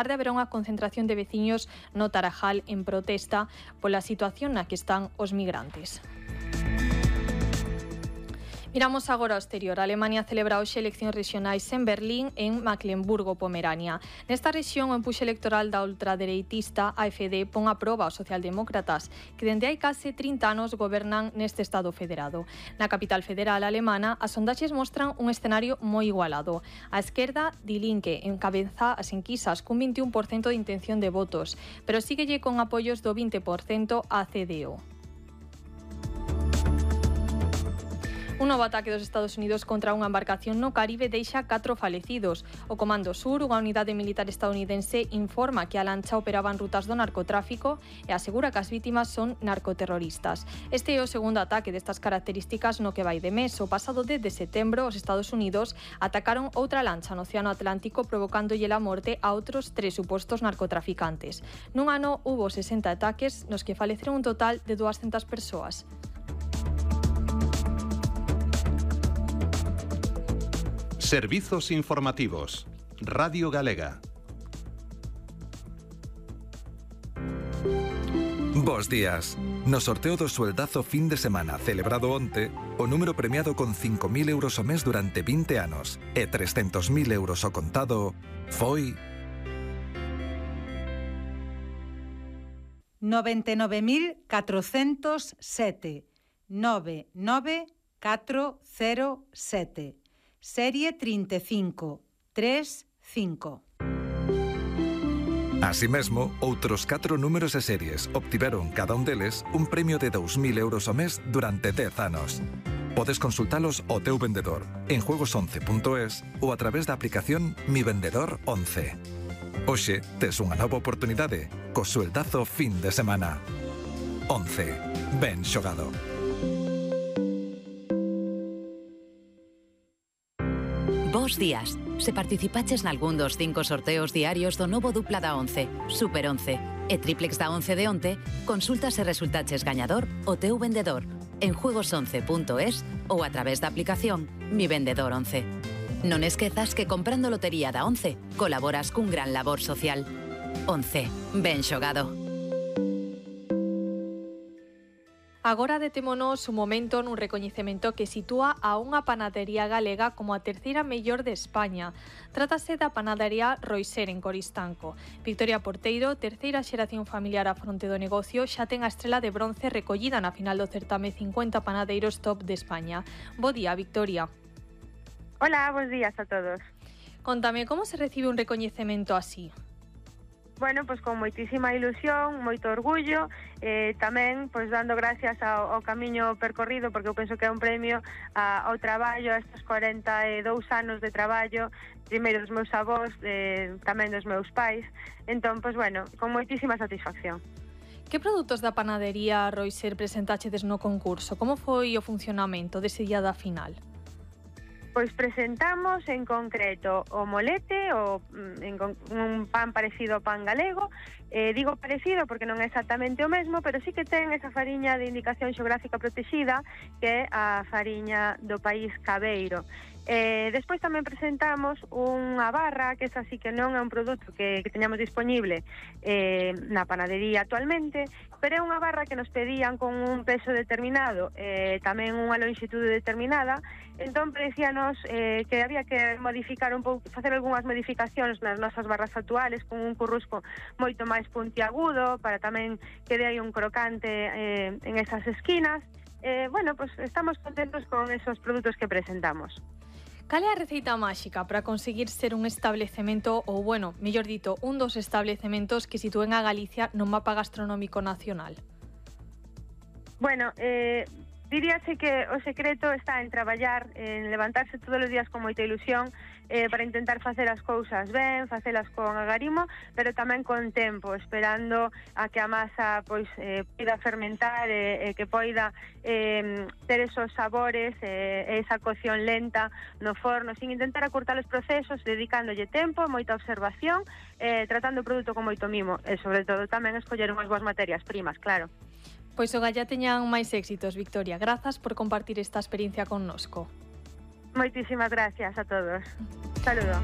tarde haberá unha concentración de veciños no Tarajal en protesta pola situación na que están os migrantes. Miramos agora ao exterior. Alemania celebra hoxe eleccións rexionais en Berlín e en Mecklemburgo-Pomerania. Nesta rexión, o empuxe electoral da ultradereitista AfD pon a proba aos socialdemócratas, que dende hai case 30 anos gobernan neste Estado federado. Na capital federal alemana, as sondaxes mostran un escenario moi igualado. A esquerda, Die Linke, encabeza as enquisas cun 21% de intención de votos, pero síguelle con apoios do 20% a CDU. Un novo ataque dos Estados Unidos contra unha embarcación no Caribe deixa 4 falecidos. O Comando Sur, unha unidade militar estadounidense, informa que a lancha operaba en rutas do narcotráfico e asegura que as vítimas son narcoterroristas. Este é o segundo ataque destas características no que vai de mes. O pasado 10 de setembro, os Estados Unidos atacaron outra lancha no Océano Atlántico provocándolle a morte a outros 3 supostos narcotraficantes. Nun ano hubo 60 ataques nos que faleceron un total de 200 persoas. Servizos informativos. Radio Galega. Bos días. No sorteo do sueldazo fin de semana celebrado onte, o número premiado con 5.000 euros ao mes durante 20 anos e 300.000 euros ao contado foi 99.407. 99407. Serie 3535. Así mesmo, outros 4 números e series obtiveron cada un deles un premio de 2.000 euros ao mes durante 10 anos. Podes consultalos ao teu vendedor en juegos11.es ou a través da aplicación Mi Vendedor 11. Hoxe tes unha nova oportunidade co sueldazo fin de semana. 11. Ben xogado. Bos días. Se participaches nalgún dos 5 sorteos diarios do novo dupla da 11, Super 11 e triplex da 11 de onte, consulta se resultaches gañador o teu vendedor en juegos11.es ou a través da aplicación Mi Vendedor 11. Non esquezas que comprando lotería da 11 colaboras cun gran labor social. 11. Ben xogado. Agora detémonos un momento nun recoñecemento que sitúa a unha panadería galega como a terceira mellor de España. Trátase da panadería Roiser en Coristanco. Victoria Porteiro, terceira xeración familiar á fronte do negocio, xa ten a estrela de bronce recollida na final do certame 50 panadeiros top de España. Bo día, Victoria. Hola, bons días a todos. Contame, como se recibe un recoñecemento así? Bueno, pois con moitísima ilusión, moito orgullo, tamén pois dando gracias ao camiño percorrido, porque eu penso que é un premio ao traballo, a estes 42 anos de traballo, primeiro dos meus avós, tamén dos meus pais. Entón, pois bueno, con moitísima satisfacción. Que produtos da panadería Roiser presentachedes no concurso? Como foi o funcionamento dese día da final? Pois presentamos en concreto o molete, un pan parecido ao pan galego. Digo parecido porque non é exactamente o mesmo, pero sí que ten esa fariña de indicación xeográfica protexida, que é a fariña do país Cabeiro. Despois tamén presentamos unha barra, que esa sí que non é un produto que teñamos disponible na panadería actualmente, pero é unha barra que nos pedían con un peso determinado, tamén unha longitude determinada. Entón parecíanos que había que modificar un pouco, facer algunhas modificacións nas nosas barras actuales, con un currusco moito máis puntiagudo, para tamén que dé aí un crocante en esas esquinas. Bueno, pues estamos contentos con esos produtos que presentamos. Cal é a receita máxica para conseguir ser un establecemento, ou, bueno, mellor dito, un dos establecementos que sitúen a Galicia no mapa gastronómico nacional? Bueno, diríase que o secreto está en traballar, en levantarse todos os días con moita ilusión, para intentar facer as cousas ben, facelas con agarimo, pero tamén con tempo, esperando a que a masa pois poida fermentar e que poida ter esos sabores, esa cocción lenta no forno, sin intentar acortar os procesos, dedicándolle tempo, moita observación, tratando o produto con moito mimo e, sobre todo, tamén escoller unhas boas materias primas, claro. Pois o galla teñan máis éxitos, Victoria. Grazas por compartir esta experiencia connosco. Moitísimas gracias a todos. Saludo.